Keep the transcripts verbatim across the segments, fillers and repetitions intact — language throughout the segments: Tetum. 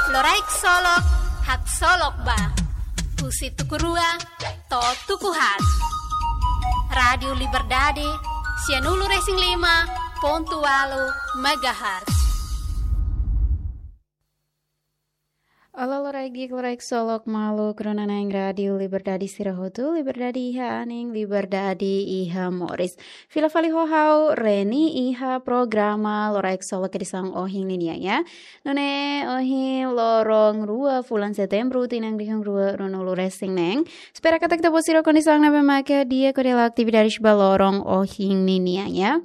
Loraik Solok, haksolok ba. Husi tuku rua to'o tuku haat. Rádiu Liberdade, sianulu-resin-lima pontu ualu megahertz. Olá, loraik di'ak, loraik solok maluk rona-na'in Rádiu Liberdade sira hotu, liberdade iha anin, liberdade iha moris. Fila fali ho ha'u Reni iha programa Loraik Solok edisaun ohin ninian, ya. Nune'e ohin loron rua fulan Setembru, tinan rihun rua ruanulu-resin-neen. Espera katak ita-boot sira kondisaun ne'ebé maka di'ak hodi halo atividade ba loron ohin ninian, ya.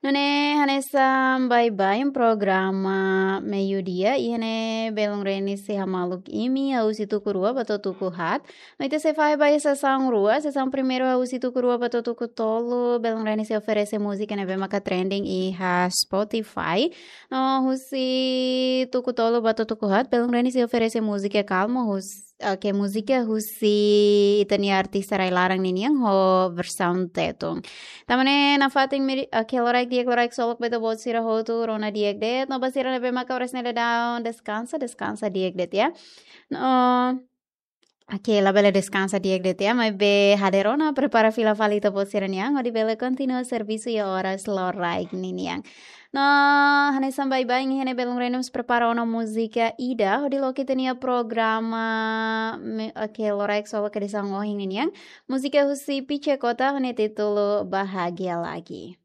Nune'e hanesan baibain programa meiudia, iha ne'e belun Reni sei hamaluk imi husi tuku rua ba to'o tuku haat. No ita sei fahe ba iha sesaun rua, sesaun primeiru husi tuku rua ba to'o tuku tolu, belun Reni sei oferese múzika ne'ebé maka trending iha Spotify. No husi tuku tolu ba to'o tuku haat, belun Reni sei oferese múzika kalma husi, oke, múzika husi ita-nia artista rai-laran ninian ho versaun Tetun. Tanba ne'e nafatin meri-, oke, loraik di'ak, loraik solok ba ita-boot sira hotu, rona di'ak de'it, no ba sira ne'ebé maka oras ne'e daudaun deskansa, deskansa di'ak de'it, ya. No, oke, labele deskansa di'ak de'it, ya, maibé hader ona, prepara fila fali ita-boot sira-nian, hodi bele kontinua servisu iha oras loraik ninian. No, hanesan baibain iha ne'e belun Reni mós prepara ona múzika ida, hodi loke ita-nia programa, me-, oke, Loraik Solok edisaun ohin ninian. Múzika husi Pice Kota, ho nia títulu Bahagia Lagi.